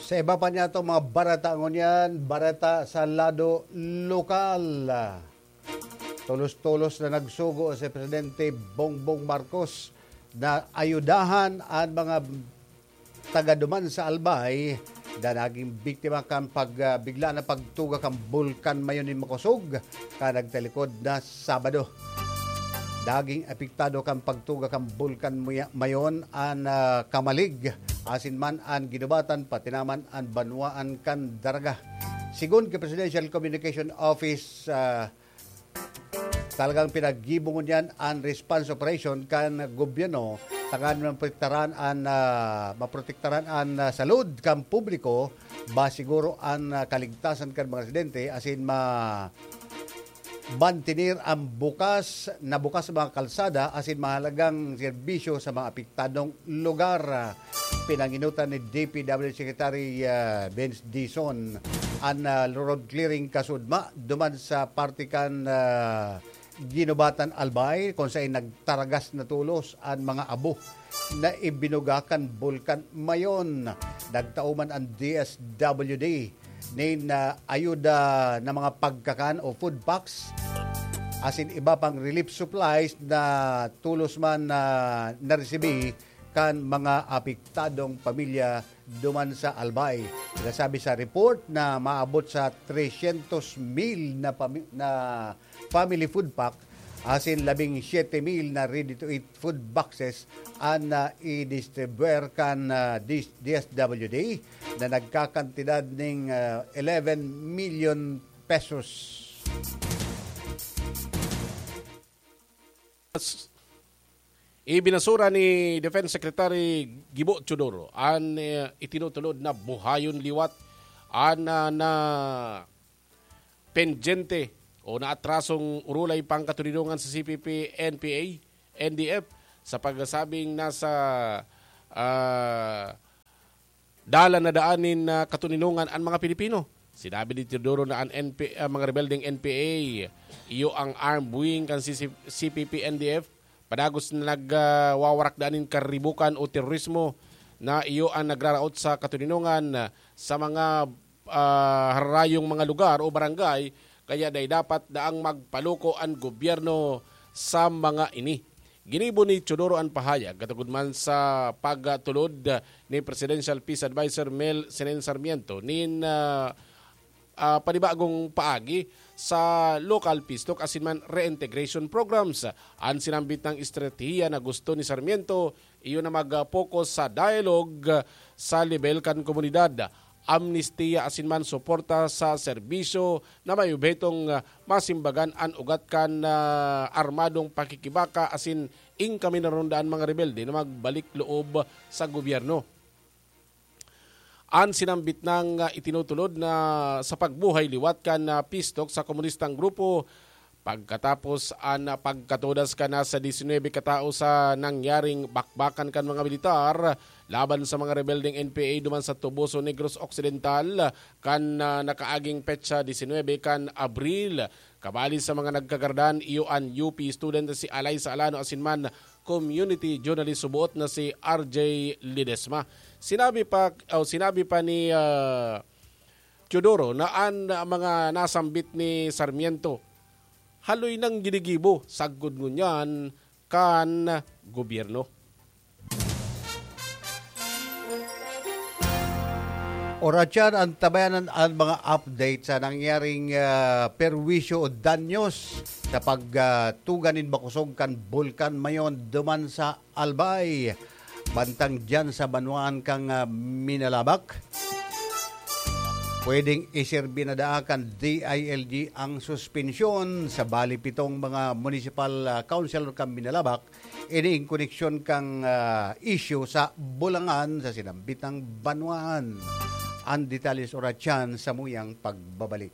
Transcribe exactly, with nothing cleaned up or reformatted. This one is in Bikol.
Sa iba pa niyato mga bareta ngunyan, bareta sa lado lokal. Tolos-tolos na nagsugo si Presidente Bongbong Marcos na ayudahan an mga taga duman sa Albay na naging biktima kan pag, ah, bigla na pagtuga kan Bulkan Mayon nin makosog kan nagtalikod na Sabado. Naging apektado kan pagtuga kan Bulkan Muya-, Mayon an, ah, Camalig, asin man an Guinobatan, pati naman an banwaan kan Daraga. Sigon ki Presidential Communication Office, ah, talagang pinaggibo ngunyan an response operation kan gobyerno tanganing maprotektaran an, ah, maprotektaran an, ah, salud kan publiko, ba siguro an, ah, kaligtasan kan mga residente asin ma-, mantener an bukas na bukas mga kalsada asin mahalagang serbisyo sa mga apektadong lugar. Pinanginutan ni D P W Secretary, ah, Vince Dizon an, ah, road clearing kasudma duman sa parte kan, ah, Guinobatan Albay, kung sain nagtaragas na tolos an mga abo na ibinuga kan Bulkan Mayon. Nagtao man an D S W D nin, ah, ayuda na mga pagkakan o food packs asin iba pang relief supplies na tolos man na naresibi kan mga apektadong pamilya duman sa Albay. Sinasabi sa report na maabot sa tresyentos mil na pami-, na family food pack asin labing siyete mil na ready-to-eat food boxes an, ah, i-distribuer kan, ah, D-, D S W D na nagkakantidad ning, ah, eleven million pesos. Ibinasura ni Defense Secretary Gibo Teodoro an, eh, itinutulod na buhayon liwat an, ah, na pendyente o naatrasong urulay pangkatoninongan sa C P P, N P A, N D F sa pagsasabing nasa, ah, dalan na daan nin, ah, katoninongan an mga Pilipino. Sinabi ni Teodoro na an N P, ah, mga rebeldeng N P A, iyo an armed wing kan C C, C P P N D F, padagos na nag, ah, wawarak daan nin karibukan o terorismo na iyo an nagraraot sa katoninongan, ah, sa mga, ah, hararayong mga lugar o barangay, kaya dai dapat daang magpaluko an gobyerno sa mga ini. Ginibo ni Teodoro an pahayag katugod man sa pagtulod ni Presidential Peace Advisor Mel Senen Sarmiento nin, ah, ah, panibagong paagi sa local peace talk asin man reintegration programs. An sinambit na estratehiya na gusto ni Sarmiento, iyo na mag-focus sa dialogue sa lebel kan komunidad, amnestiya asin man suporta sa serbisyo na may obhetong, ah, masimbagan an ugat kan, ah, armadong pakikibaka asin inkaminaron daan mga rebelde na magbalik loob sa gobyerno. An sinambit nang, ah, itinutulod na sa pagbuhay liwat kan, ah, peace talk sa komunistang grupo, pagkatapos an pagkatodas kan nasa disinwebe katao sa nangyaring bakbakan kan mga militar laban sa mga rebeldeng N P A duman sa Toboso, Negros Occidental, kan, ah, nakaaging petsa disinwebe kan Abril. Kabali sa mga nagkagardan, iyo an U P student si Alaysa Alano asin man community journalist suboot na si R J Ledesma. Sinabi pa, o sinabi pa ni, ah, Teodoro na an mga nasambit ni Sarmiento haloy nang ginigibo sagkod ngunyan kan gobyerno. Oratyan, antabayanan an mga update sa nangyaring, ah, perwisyo o danyos sa pag, ah, tuga nin makosog kan Bulkan Mayon duman sa Albay. Bantang diyan sa banwaan kan, ah, Minalabac, pwedeng iserbi na daa kan D I L G ang suspensyon sa bali pitong mga municipal, ah, councilor kan Minalabac. Ini in koneksyon kan, ah, isyu sa Bulangan sa sinambitang banwaan. An detalye sa oratyan sa muyang pagbabalik.